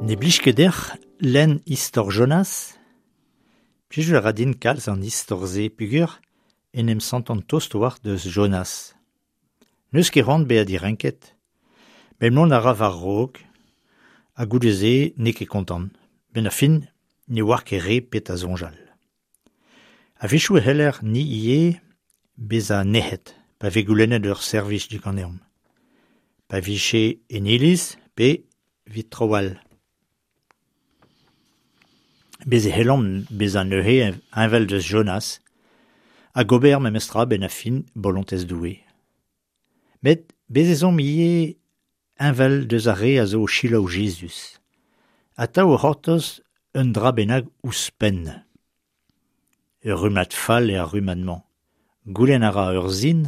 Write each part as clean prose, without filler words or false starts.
Ne blij ket deoc'h lenn istor Jonas ? Plijout a ra din kalz an istor-se peogwir en em santan tost a-walc'h deus Jonas. N'eus ket c'hoant bezañ direnket met mont a ra war-raok ha goude-se n'eo ket kontant. 'Benn ar fin ne oar ket re petra soñjal. A-wechoù e c'heller ni ivez bezañ nec'het pa vez goulennet ur servij diganeomp. Pa vije en iliz pe evit traoù all. Bez' e c'hellomp bezañ neuze heñvel deus Jonas hag ober memestra 'benn ar fin bolontez Doue. Met bez' ez omp ivez heñvel deus ar re a zo o selaou Jezuz. Atav o c'hortoz un dra bennak ouzhpenn. Ur rummad fall eo ar rummad-mañ. Goulenn a ra ur sin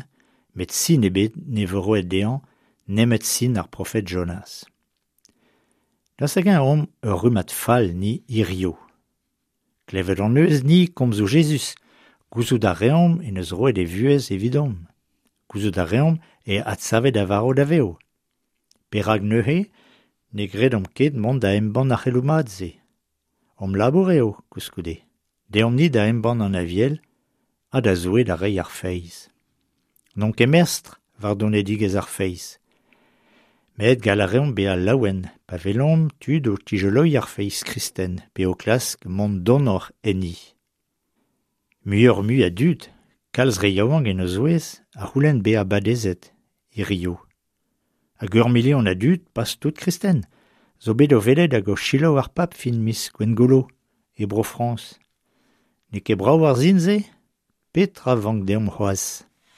met sin ebet ne vo roet dezhañ nemet sin ar profed Jonas. Daoust hag-eñ omp ur rummad fall ni hiziv ? Klevet hon eus ni komzoù Jezuz, gouzout a reomp en deus roet e vuhez evidomp. Gouzout a reomp eo adsavet a varv da vev. Perak neuze ne gredomp ket mont da embann ar c'heloù mat-se ? Hom labour eo, koulskoude. Deomp-ni da embann an Aviel ha da Zoue da reiñ ar feiz. N'omp ket mestr war donedigezh ar feiz. Met gall a reomp bezañ laouen pa welomp tud o tizoloiñ ar feiz kristen pe o klask mont donoc'h enni. Muioc'h-mui a dud, kalz re yaouank en o zouez, a c'houlenn bezañ badezet hiziv. Hag ur milion a dud, pas tout kristen, zo bet o welet hag o selaou ar pab fin miz Gwengolo, e Bro-Frañs. N'eo ket brav ar sin-se ? Petra 'vank deomp c'hoazh ?